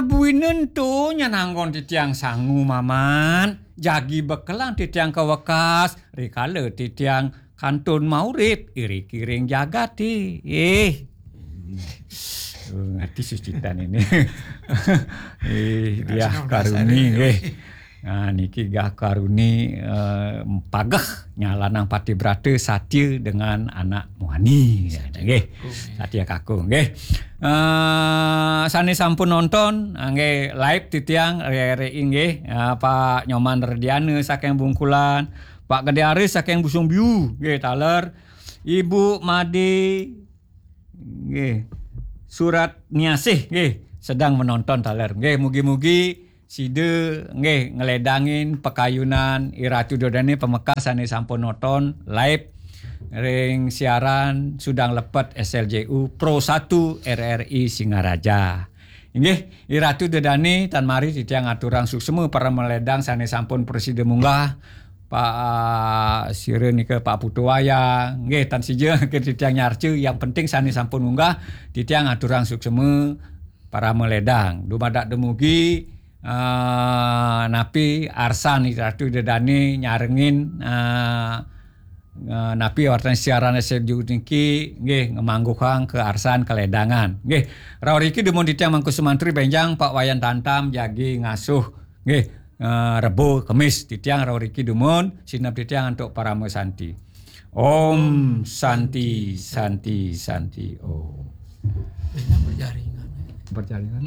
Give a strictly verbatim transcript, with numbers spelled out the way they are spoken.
Buina ento nyan anggon titiang sangu, Mamat. Jagi bekelang titiang ka wekas, rikala titiang kantun maurip iriki ring jagate. Eh. Oh, ngerti sucitan ini. Eh, Diah Karuni, nggih. Nah, niki Diah Karuni, eh, pageh nyalanang pati brata satia dengan anak muani. Nggih. Satia kakung, nggih. Eh, sane sampun nonton, nggih, live titiang, re-, re-, nggih. Eh, Pak Nyoman Rediana saking Bungkulan, Pak Gede Aris saking Busung Biu, nggih, taler. Ibu Made, nggih, Surat Niasih, nggih, sedang menonton taler. Nggih, mugi-mugi sida, nggih, ngledangin pakayunan Iratu Dodane pamekas sane sampun nonton live ring siaran Sudang Lepet S L J U Pro satu R R I Singaraja. Inggih, Iratu Dodane, tan mari titiang aturang suksma para maledang sane sampun prasida munggah, Pak, ah, sira nika Pak Putu Wayang, nggih, tan sida ke titiang nyarca, yang penting sane sampun munggah, titiang aturang suksma para maledang. Dumadak dumugi, ah, napi arsan Iratu Dodane nyarengin, ah, eh, napi wartan siaran S L J U niki, nggih, ngamangguhang kaarsan kaledangan. Nggih, rauh riki dumun titiang Mangku Sumantri benjang Pak Wayan Tantam jagi ngasuh, nggih, eh, Rebo Kemis titiang rauh riki dumun sineb titiang antuk parama santi. Om Santi, Santi, Santi Om. Berjaringan. Berjaringan.